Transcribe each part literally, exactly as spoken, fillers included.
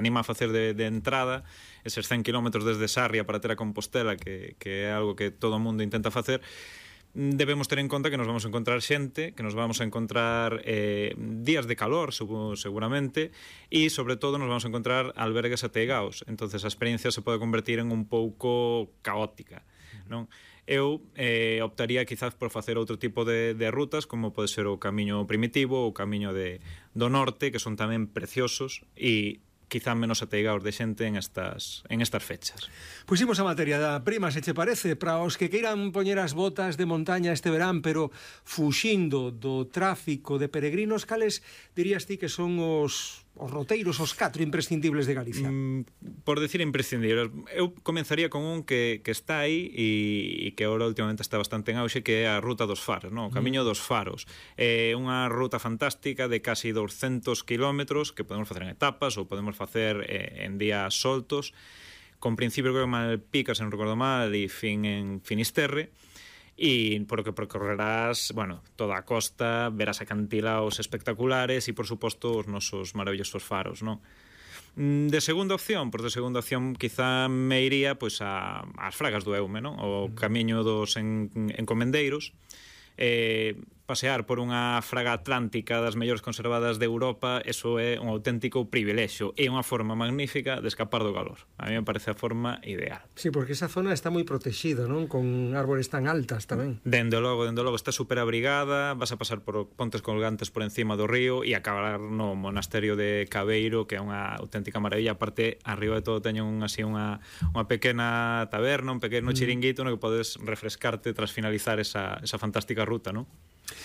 anima a facer de, de entrada eses cen kilómetros desde Sarria para ter a Compostela, que, que é algo que todo o mundo intenta facer, debemos ter en conta que nos vamos a encontrar xente, que nos vamos a encontrar eh, días de calor, seguramente, e sobre todo nos vamos a encontrar albergues ateigaos. Entonces a experiencia se pode convertir en un pouco caótica, non? Eu eh, optaría quizás por facer outro tipo de, de rutas, como pode ser o camiño primitivo, o camiño de, do norte, que son tamén preciosos e quizá menos ateigaos de xente en estas, en estas fechas. Pois imos a materia da prima, se che parece, para os que queiran poñer as botas de montaña este verán, pero fuxindo do tráfico de peregrinos, cales dirías ti que son os... os roteiros, os catro imprescindibles de Galicia? Mm, por decir imprescindibles, eu comenzaría con un que, que está aí e, e que ahora últimamente está bastante en auxe, que é a Ruta dos Faros, no? O Camiño dos Faros. É unha ruta fantástica de casi douscentos kilómetros que podemos facer en etapas ou podemos facer eh, en días soltos, con principio creo que Malpica, se non recordo mal, e fin en Finisterre, e por o que percorrerás, bueno, toda a costa, verás acantilaos espectaculares e, por suposto, os nosos maravillosos faros, non? De segunda opción, pois de segunda opción quizá me iría pois a, as Fragas do Eume, non? O camiño dos en, encomendeiros, eh, pasear por unha fraga atlántica das mellores conservadas de Europa, eso é un auténtico privilexio e unha forma magnífica de escapar do calor. A mí me parece a forma ideal. Sí, porque esa zona está moi protexida, non? Con árbores tan altas tamén. Dende logo, dende logo, está super abrigada, vas a pasar por pontes colgantes por encima do río e acabar no monasterio de Cabeiro, que é unha auténtica maravilla. Aparte, arriba de todo teñen un, así unha, unha pequena taberna, un pequeno chiringuito no que podes refrescarte tras finalizar esa, esa fantástica ruta, non?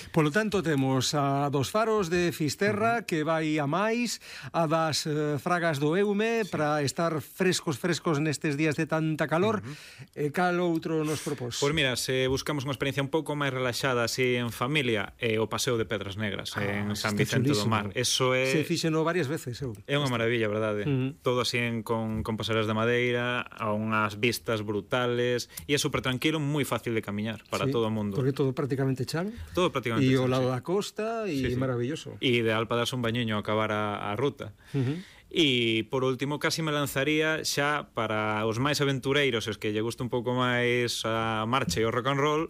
Polo tanto, temos a dos Faros de Fisterra, uh -huh, que vai a máis, a das eh, Fragas do Eume, sí, para estar frescos, frescos nestes días de tanta calor. Uh -huh. E cal outro nos propós? Pois mira, se buscamos unha experiencia un pouco máis relaxada así en familia, é eh, o Paseo de Pedras Negras, ah, en San Vicente chulísimo. do Mar. Eso é... Se fixeno varias veces, eu. É unha maravilla, verdade? Uh -huh. Todo así en, con, con pasarelas de madeira, a unhas vistas brutales, e é super tranquilo, moi fácil de camiñar para sí, todo o mundo. Porque todo prácticamente chan. Todo prácticamente e chan, o lado sí. da costa e sí, sí. maravilloso. E ideal para darse un bañiño a acabar a, a ruta. Uh -huh. E, por último, casi me lanzaría xa para os máis aventureiros, os que lle gusta un pouco máis a marcha e o rock and roll,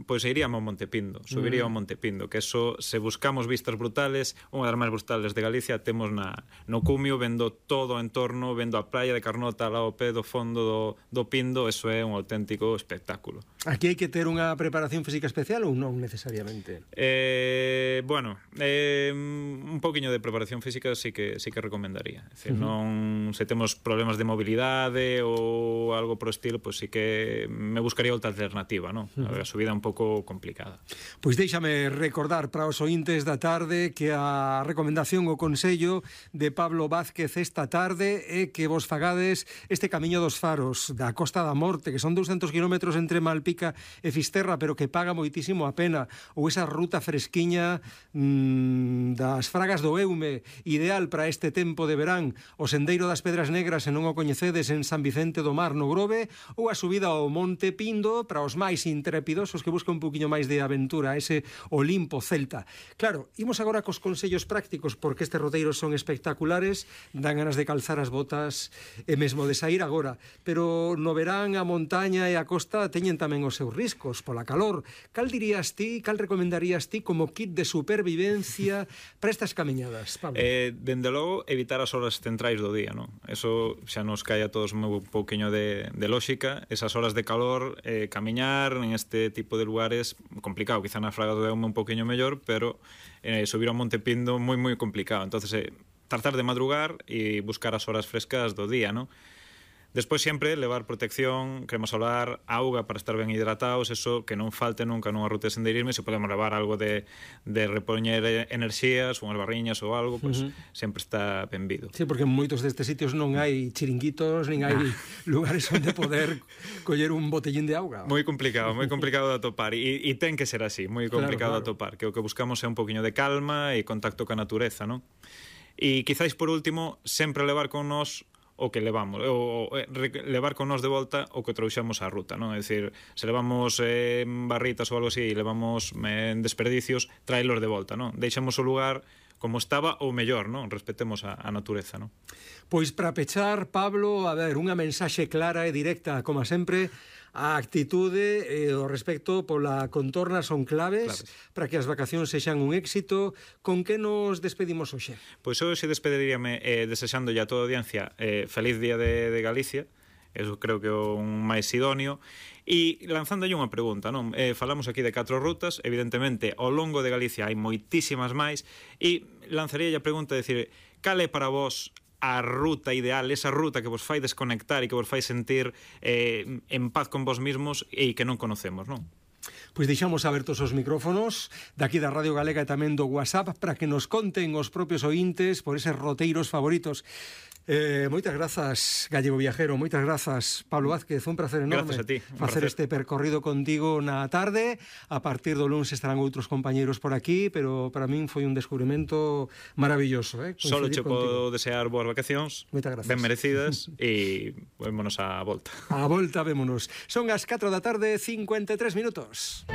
pois iríamos ao Montepindo, subiría ao Montepindo, que eso, se buscamos vistas brutales, unha das máis brutales de Galicia, temos na, no Cumio, vendo todo o entorno, vendo a praia de Carnota lá ao pé do fondo do, do Pindo, eso é un auténtico espectáculo. Aquí hai que ter unha preparación física especial ou non necesariamente? Eh, bueno, eh, un poquinho de preparación física sí que, sí que recomendaría. É dicir, uh -huh. non, se temos problemas de mobilidade ou algo pro estilo, pois sí que me buscaría outra alternativa, non? Uh -huh. A subida un pouco complicada. Pois déixame recordar para os ointes da tarde que a recomendación o consello de Pablo Vázquez esta tarde é que vos fagades este camiño dos Faros da Costa da Morte, que son douscentos kilómetros entre Malpica e Fisterra, pero que paga moitísimo a pena, ou esa ruta fresquiña mmm, das Fragas do Eume, ideal para este tempo de verán, o sendeiro das Pedras Negras, se non o coñecedes, en San Vicente do Mar no Grove, ou a subida ao Monte Pindo para os máis intrépidos, os que buscan un poquinho máis de aventura, ese Olimpo celta. Claro, imos agora cos consellos prácticos, porque estes roteiros son espectaculares, dan ganas de calzar as botas e mesmo de sair agora, pero no verán a montaña e a costa teñen tamén os seus riscos pola calor. Cal dirías ti, cal recomendarías ti como kit de supervivencia para estas camiñadas, Pablo? Eh, dende logo, evitar as horas centrais do día, non? Eso xa nos cae a todos un pouquiño de, de lógica, esas horas de calor, eh, camiñar en este tipo de lugares complicado, quizá na Fraga do Eume un pouquiño mellor, pero eh, subir ao Monte Pindo moi moi complicado. Entonces, eh, tratar de madrugar e buscar as horas frescas do día, non? Despois sempre levar protección, crema solar, auga para estar ben hidratados, eso que non falte nunca nunha ruta de senderismo, e se podemos levar algo de, de repoñer enerxías, unhas barriñas ou algo, pois pues, uh -huh. sempre está benvido. Sí, porque en moitos destes sitios non hai chiringuitos, nin hai lugares onde poder coller un botellín de auga. Moi complicado, moi complicado de atopar, e, e ten que ser así, moi complicado claro, claro. de atopar, que o que buscamos é un poquinho de calma e contacto ca natureza, non? E quizáis por último, sempre levar con nós o que levamos, o, o levar con nós de volta o que trouxemos á ruta, non? É dicir, se levamos eh, barritas ou algo así e levamos eh, desperdicios, traelos de volta, non? Deixamos o lugar como estaba ou mellor, non? Respetemos a, a natureza, non? Pois para pechar, Pablo, a ver, unha mensaxe clara e directa, como sempre, a actitude e o respecto pola contorna son claves, claves para que as vacacións sexan un éxito. Con que nos despedimos hoxe? Pois hoxe despediríame eh, desexándolle a toda a audiencia eh, feliz día de, de Galicia, eso creo que é un máis idóneo, e lanzándolle unha pregunta, non? Eh, falamos aquí de catro rutas, evidentemente ao longo de Galicia hai moitísimas máis, e lanzaría a pregunta de decir, cal é para vos a ruta ideal, esa ruta que vos fai desconectar e que vos fai sentir eh, en paz con vos mismos e que non conocemos, non? Pois deixamos abertos os micrófonos daqui da Radio Galega e tamén do WhatsApp para que nos conten os propios ointes por eses roteiros favoritos. Eh, moitas grazas, Gallego Viajero, moitas grazas, Pablo Vázquez, un placer enorme gracias a ti, facer placer. este percorrido contigo na tarde. A partir do lunes estarán outros compañeiros por aquí, pero para min foi un descubrimento maravilloso, eh? Solo che podo desear boas vacacións, ben merecidas, e vémonos á volta. A volta, vémonos. Son as catro da tarde, cincuenta e tres minutos.